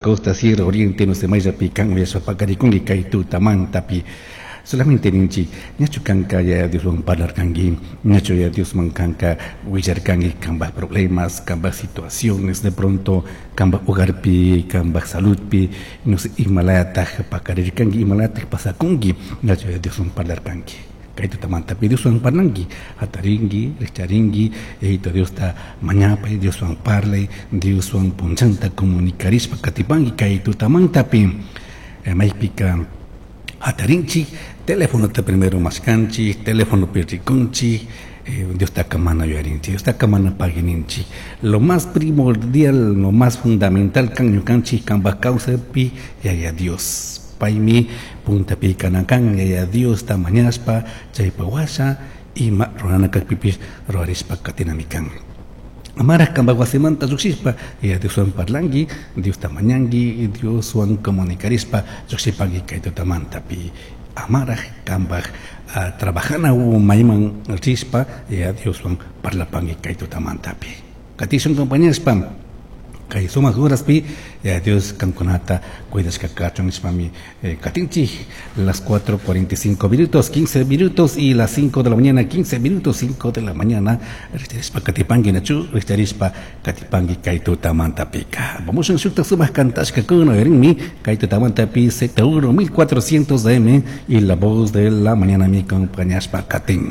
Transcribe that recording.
Costa, Sierra, Oriente, no sé, mayllapi kan uyashpa paqarikunki kay tutamantapi. Solamente ninchik, ñachu kanka Yaya Dioswan parlarkanki, ñachu Yaya Diosman kanka willarkanki kambaj problemas, kambaj situaciones, de pronto kambaj hogarpi, kambaj saludpi, no sé, imalayataj paqarirkanki, imalayataj pasakunki, ñachu Yaya Dioswan parlarkanki. Kay tutamantapi Dioswan parlanki, hatarinki, rikcharinki, Yayito Diosta mañapay, Dioswan parlay, Dioswan punchanta comunicarishpa katipanki kay tutamantapi. Maypika hatarinchik, telefonota primero mashkanchik, telefonopi rikunchik, Diostaca mana yuyarinchik, Diostaca mana paguininchik. Lo más primordial, lo más fundamental kan ñukanchik kambaj kawsaypi Yaya Dios. Paymi puntapi kana kan Yaya Diosta mañashpa chaypa washa ima rurana kajpipish rurarishpa katinami kan. Amaraj kambaj wasimanta llukshishpa Yaya Dioswan parlanki, Diosta mañanki, Dioswan comunicarishpa llukshipangui kay tutamantapi. Amaraj kambaj trabajana mayman rishpa Yaya Dioswan parlapangui kay tutamantapi. Katishun compañashpa kay sumak horaspi Yaya Dios kankunata cuidashka kachun nishpami katinchik. Las 4:45 minutos, 15 minutos y las 5 de la mañana, 15 minutos, 5 de la mañana. Rikcharishpa katipanki nachu, rikcharishpa katipanki kay tutamantapika. Vamos en shukta sumak kantashka kuna rinmi kay tutamantapi Z1 1400 AM y la voz de la mañana mi compañashpa katin.